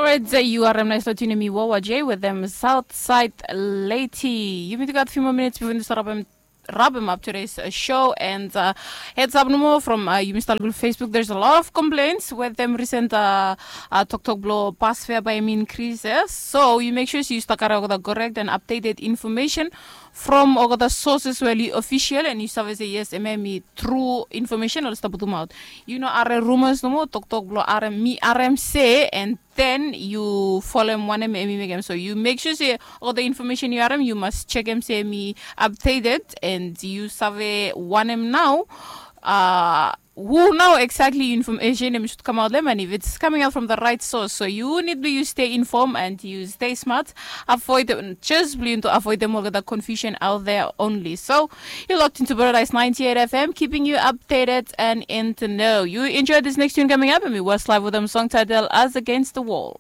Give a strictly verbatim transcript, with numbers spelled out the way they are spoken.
Right, yu harem nais lo tune mi Wawa J with them Southside Lady. Yumi tu gat few more minutes before yumi start rabem up today's uh, show and uh, heads up no more from uh, yumi start lo Facebook. There's a lot of complaints with them recent uh, uh, tok tok blo bus fare by mean increases. So you make sure you start kare olgeta correct and updated information from olgeta sources where you official and you save say yes, eme mi true information ol start putum out. You know are rumors no more tok tok blo are mi are se and then you folem wanem emi mekem. So you make sure se all the information you harem you must check em se emi updated and you save wanem now. Uh, who now exactly information em should come out them and if it's coming out from the right source, so you need to you stay informed and you stay smart, avoid them, just blo you to avoid them all the confusion out there only. So you locked into Paradise ninety-eight F M, keeping you updated and in the know. You enjoy this next tune coming up and we was live with them song title As Against the Wall.